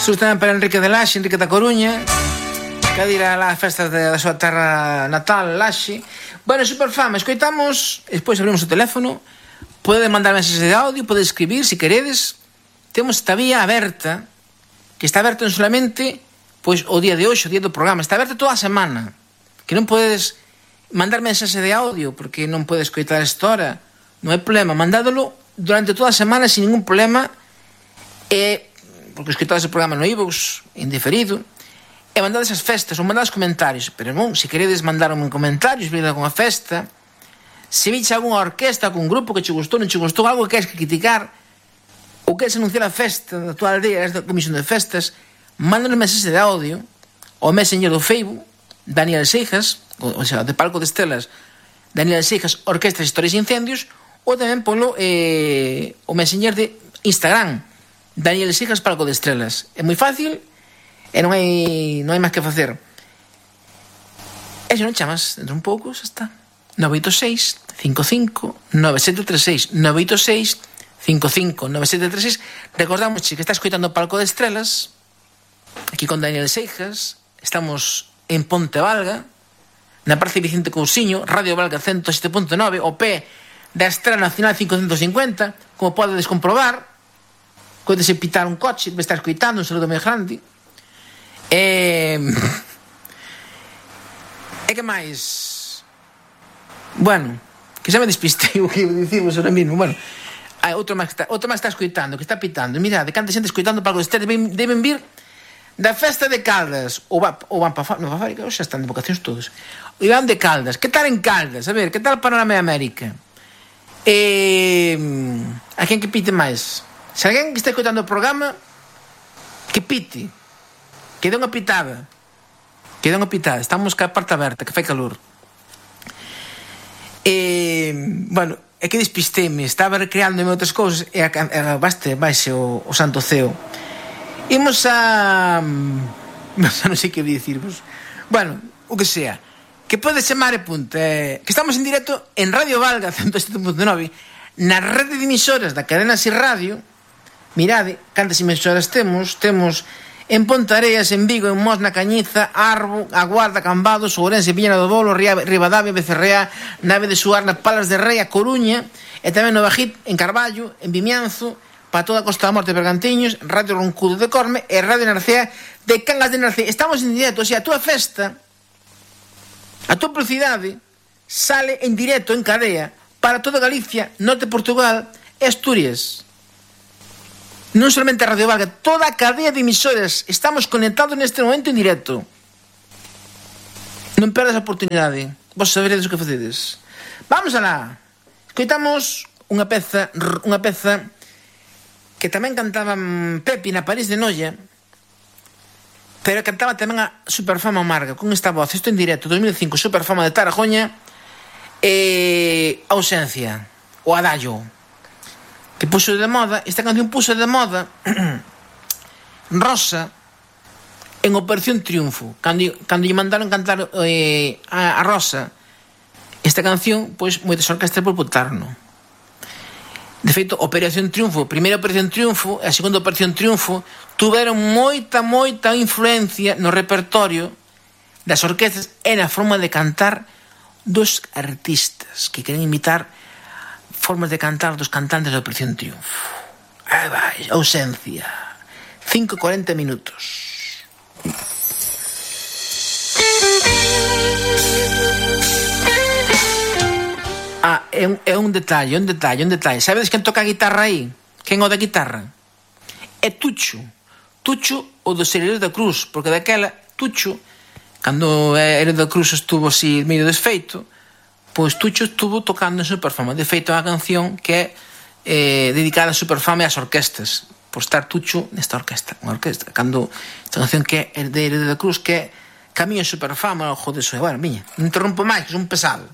Saúdos tamén para Enrique de Laxe, Enrique da Coruña, que a ir a las festas da súa terra natal, Laxe. Bueno, Superfama, escoitamos, despois abrimos o teléfono, pode mandar mensaxes de audio, pode escribir, se queredes. Temos esta vía aberta, que está aberta non solamente pois o día de hoxe, o día do programa, está aberta toda a semana, que non podes mandar mensaxe de audio porque non podes escoitar esta hora, non hai problema, mandádolo durante toda a semana sin ningún problema, porque escoitades o programa no iVoox, indiferido, e mandades as festas ou mandades comentarios, pero non, se queredes mandarme comentarios, vir a alguna festa, se viche alguna orquesta, algún grupo que che gustou, non che gustou, algo que queres criticar, ou queres anunciar a festa da tua aldea, esta comisión de festas, mándanos mensaxe de audio ao Messenger do Facebook, Daniel Seijas, ou sea, de Palco de Estelas, Daniel Seijas, Orquestas, Historias e Incendios, ou tamén polo o Messenger de Instagram, Daniel Seijas, Palco de Estrelas. É moi fácil e non hai máis que facer. E se non chamas dentro un pouco, xa está. 986 55 9736 986 55 9736. Recordamos que está escoitando Palco de Estrelas aquí con Daniel Seijas. Estamos en Ponte Valga, na Praza Vicente Cousiño, Radio Valga 107.9, o pé da Estrela Nacional 550, como podedes comprobar. Podese pitar un coche, me está escoitando, un saludo moi grande. E que máis? Bueno, que xa me despistei o que iba a dicirvos ahora mismo. Bueno, outro máis está escoitando, que está pitando. Mirade, canta xente escoitando para que ustedes deben vir da festa de Caldas. Ou van para fábrica, xa están de vocacións todos. E van de Caldas. Que tal en Caldas? A ver, que tal Panorama de América? A quen que pite máis? Se alguén que está escoitando o programa, que pite. Que dé unha pitada. Estamos ca parte aberta, que fai calor. Bueno, é que despisteme. Estaba recreándome outras cousas e baixe o santo ceo. Imos a... non sei que dicirvos. Bueno, o que sea. Que pode chamar e punto. Que estamos en directo en Radio Valga 107.9, na rede de emisoras da cadena SIR Radio. Mirade, cantas emisoras temos. Temos en Pontareas, en Vigo, en Mos, na Cañiza, Arbo, A Guarda, Cambados, Ourense, Viña do Bolo, Ribadavia, Becerrea, Nave de Suar, na Palas de Rei, A Coruña, e tamén no Bajit, en Carballo, en Vimianzo, para toda a Costa da Morte de Bergantiños, Radio Roncudo de Corme e Radio Narcea de Cangas de Narcea. Estamos en directo, o sea, a túa festa, a túa publicidade sale en directo, en cadea, para toda Galicia, Norte de Portugal e Asturias. Non solamente a Radio Valga, toda a cadea de emisoras. Estamos conectados neste momento en directo. Non perdas a oportunidade. Vos saberedes o que facedes. Vamos alá. Escoitamos unha peza que tamén cantaba Pepi na París de Noia, pero cantaba tamén a Superfama Amarga con esta voz. Isto en directo, 2005, Superfama de Tarajoña, Ausencia, o Adallo, que puxo de moda. Esta canción puxo de moda Rosa en Operación Triunfo, cando lle mandaron cantar a Rosa esta canción, pois moitas orquestas boicotaron. De feito, Operación Triunfo, primeira Operación Triunfo e a segunda Operación Triunfo tuveron moita influencia no repertorio das orquestas e na forma de cantar dos artistas que queren imitar formas de cantar dos cantantes da Operación Triunfo. Aí vai, Ausencia, 5:40 minutos. É un detalle. Sabedes quen toca a guitarra aí? Quen o da guitarra? É Tucho, o dos Herederos da Cruz, porque daquela Tucho, cando Herederos da Cruz estuvo así medio desfeito, pois Tucho estuvo tocando en Superfama. De feito, é unha canción que é dedicada a Superfama e ás orquestas, por estar Tucho nesta orquesta. Unha orquesta, cando esta canción que é de Herederos da Cruz, que é Camiño Superfama, o joder, bueno, miña, non interrompo máis, que son pesado.